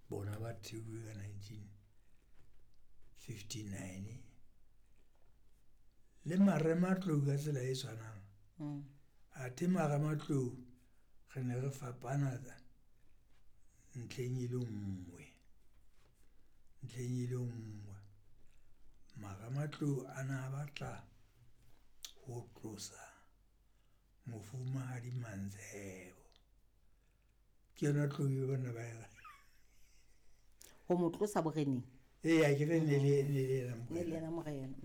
Bona ba theuwe ka 1959. Le marematlou ka tsela e tshwanang. Athe marematlou re ne re fapana ntlheng e le nngwe, ntlheng e le nngwe. Marematlou a na batla ho tlosa Mofumahadi Mantshebo. Ke yona tlou e bana ba e Ho mo tlosa boreneng? Ee, akere ne le yena Ne le yena morena.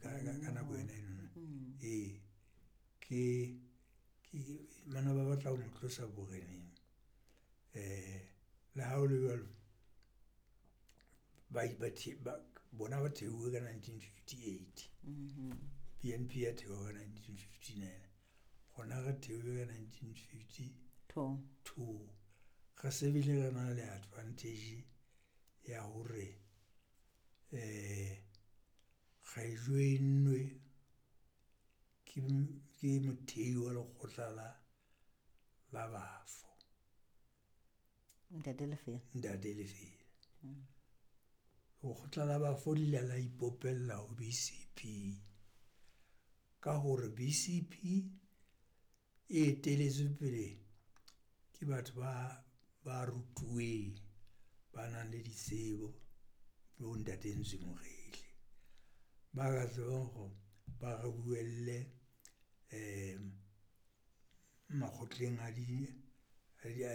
Ka nako yona eno. Ee, ke bana ba batla ho mo tlosa boreneng. Le ha ho le jwalo, bona ba theuwe ka 1958. BNP ya thewa ka 1959. Rona re theuwe ka 1952. Two. Re se bile re na le advantage ya hore re join-nwe ke mothei wa lekgotla la bafo. Ntate Lefela. Ntate Lefela. Lekgotla la bafo le ile la ipopella ho BCP ka hore BCP e etelletswe pele ke batho ba rutuweng, ba nang le ditsebo bo ntate Ntsie Mokgehle. Ba ka tsebang hore ba re buelle makgotleng a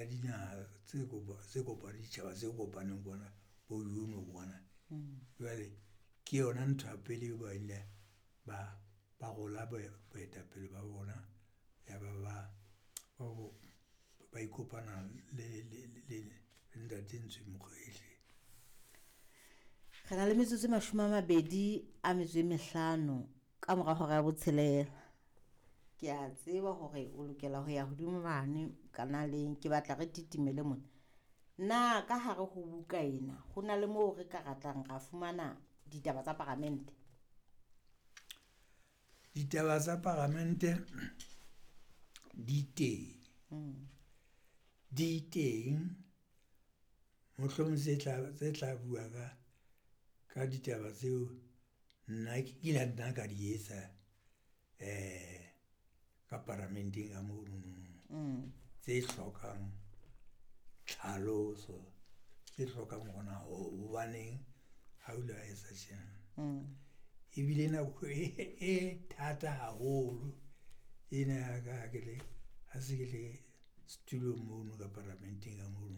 dinaha tse ditjhaba tse kopaneng kwana bo kwana. Jwale ke yona ntho ya pele eo ba ile ba rola boetapele ba bona, ya ba ba ikopana le ntate Ntsie Mokgehle. Re na le metsotso e 25 ka mora hora ya botshelela. Ke a tseba hore o lokela ho ya hodimo mane kanaleng, ke batla re titimele mona. Na ka hare ho buka ena ho na le moo re ka ratang ra fumana ditaba tsa paramente? Ditaba tsa paramente di teng. Di teng, mohlomong tse tla bua ka ditaba tseo nna ke nna ka di etsa ka paramenteng ka monono. Tse hlokang tlhaloso, tse hlokang hore na hobaneng ha o ile wa etsa tjena. Ebile nako e thata haholo ena ya ka ha ke le, ha se ke le setulong mono ka paramenteng ka mono.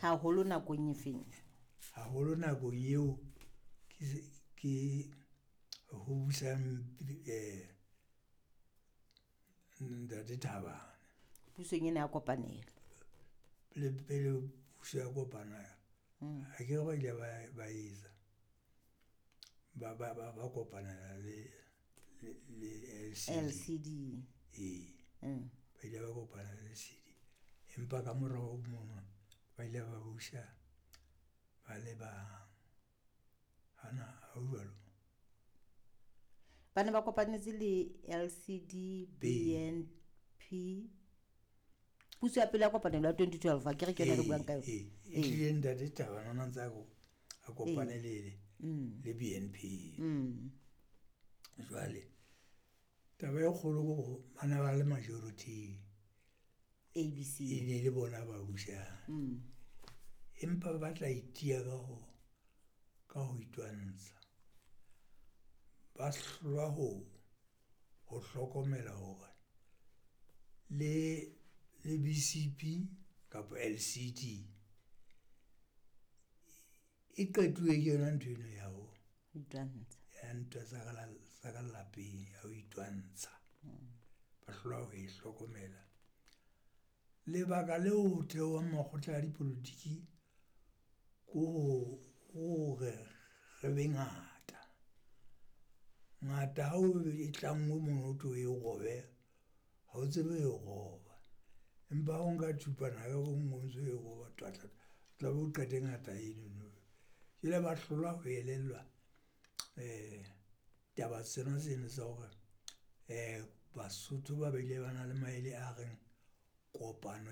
Haholo nakong e feng? Haholo nakong eo ke ho busang ntate Thabane. Pusong ena ya kopanelo. Le pele puso ya kopana, akere ba ile ba etsa ba kopanela le LCD. LCD. Ee. Ba ile ba kopana le LCD. Empa ka morao mono ba ile ba busa ba le bang. Hana ha ho jwalo? Ba ne ba kopanetse le LCD, BNP. Puso ya pele ya kopanelo ya 2012, akere ke yona re buang ka yona? Ee, ehlile ntate Thabane ona ntse a kopane le BNP. Jwale taba e kgolo ke hore bana ba le majority. ABC. E ne le bona ba busang. Empa ba tla itiya ka ho itwantsha. Ba hlolwa ho hlokomela hore le BCP kapa LCD e qetuwe ke yona ntho eno ya ho itwantsha. Ya ntwa tsa ka lapeng ya ho itwantsha. Ba hlolwa ho e hlokomela. Lebaka leo ho theowang makgotla a dipolotiki ko hore re be ngata. Ngata ha o e tlanngwe mono hothwe o e robe, ha o tsebe ho e roba. Empa ha o nka thupana ka bo nngwe o ntso e roba twatla, tla be o qete ngata enono. Jwale ba hlolwa ho elellwa taba tsena tseno tsa hore Basotho ba bile ba na le maele a reng kopano.